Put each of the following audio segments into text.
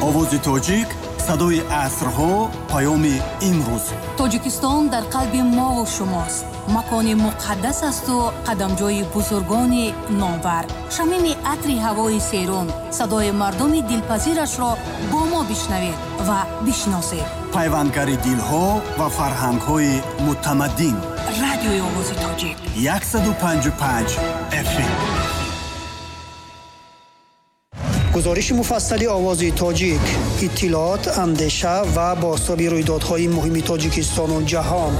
Овози тоҷик, садои асрҳо, паёми имрӯз. Тоҷикистон дар қалби мову шумост. Макони муқаддас асту қадамҷои бузургони номвар. Шамими атри ҳавои серун, садои мардуми дилпазирашро бо мо бишнавед ва бишиносед. Пайвандгари дилҳо ва фарҳангҳои мутамаддин. Радиои Овози Тоҷик. 155 FM. Гузориши муфассали Овози Тоҷик, иттилоот, андеша ва бозтоби рӯйдодҳои муҳими Тоҷикистону ҷаҳон.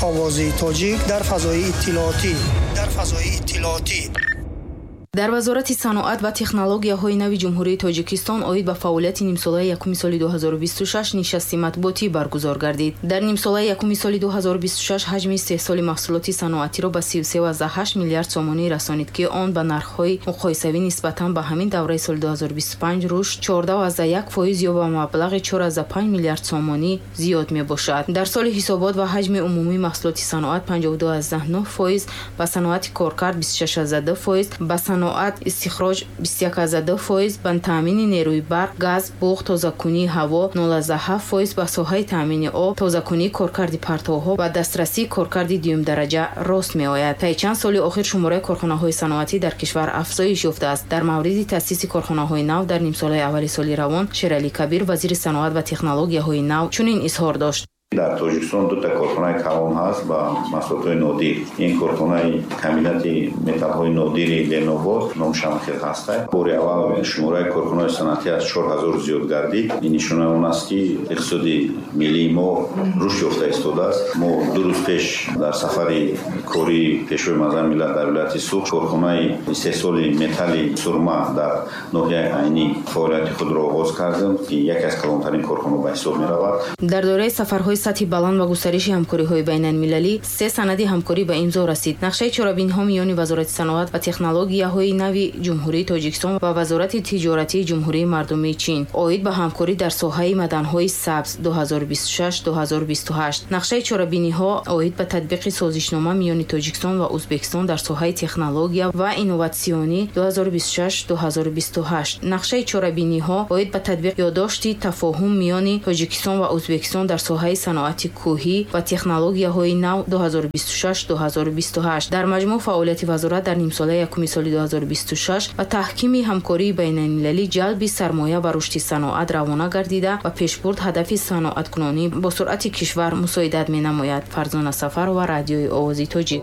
Овози Тоҷик дар фазои иттилоотӣ. Дар фазои иттилоотӣ. Дар Вазорати саноат ва технологияҳои нави Ҷумҳурии Тоҷикистон оид ба фаъолияти нимсолаи якуми соли 2026 нишасти матбуотӣ баргузор гардид. Дар нимсолаи якуми соли 2026 ҳаҷми истеҳсоли маҳсулоти саноатиро ба 33,8 миллиард сомонӣ расонид, ки он ба нархҳои муқоисавӣ нисбатан ба ҳамин давраи соли 2025 рушд 14,1% ё ба маблағи 4,5 миллиард сомонӣ зиёд мебошад. Дар соли ҳисобот ва ҳаҷми умумии маҳсулоти саноат 52,9%, ба саноати коркард 26,2%, ба саноат истихроҷ 21,2%, ба таъмини нерӯи барқ, газ, буғ, тозакунии ҳаво 0,7%, ба соҳаи таъмини об, тозакунии коркарди партовҳо ва дастрасии коркарди дуюмдараҷа рост меояд. Таи чанд соли охир шумораи корхонаҳои саноатӣ дар кишвар афзоиш ёфтааст. Дар мавриди таъсиси корхонаҳои нав дар нимсолаи аввали соли равон Шералӣ Кабир, вазири саноат ва технологияҳои нав, чунин изҳор дошт. Дар Тоҷикистон дута корхонаи калон ҳаст ба маҳсулотҳои нодир. Ин корхонаи комбинати металлҳои нодири Ленобод номшамхел ҳаста. Бори аввал шумораи корхонаҳои саноатӣ аз 4000 зиёд гардид. Ин нишонаи он аст, ки иқтисоди миллии мо рушд ёфта истодааст. Мо 2 рӯз пеш дар сафари кории Пешвои муаззами миллат дар вилояти Суғд корхонаи истеҳсоли металли сурма дар ноҳияи Айнӣ фаъолияти худро оғоз кардем, ки яке аз калонтарин корхонаҳо ба ҳисоб меравад. Дар доираи сафарҳои сатҳи баланд ва густариши ҳамкориҳои байналмилалӣ се санади ҳамкорӣ ба имзо расид. Нақшаи чорабиниҳо миёни Вазорати саноат ва технологияҳои нави Ҷумҳурии Тоҷикистон ва Вазорати тиҷоратии Ҷумҳурии Мардумии Чин оид ба ҳамкорӣ дар соҳаи маданҳои сабз 2026-2028. Нақшаи чорабиниҳо оид ба татбиқи созишнома миёни Тоҷикистон ва Ӯзбекистон дар соҳаи технология ва инноватсионӣ 2026-2028. Нақшаи чорабиниҳо оид ба татбиқ ёддошти тафоҳум миёни Тоҷикистон ва Ӯзбекистон дар соҳаи саноати кӯҳӣ ва технологияҳои нав 2026-2028. Дар маҷмӯъ фаъолияти вазорат дар нимсолаи якуми соли 2026 ба таҳкими ҳамкории байналмилалӣ, ҷалби сармоя ва рушди саноат равона гардида ва пешбурд ҳадафи саноаткунонӣ бо суръати кишвар мусоидат менамояд. Фарзона Сафарова, Радиои Овози Тоҷик.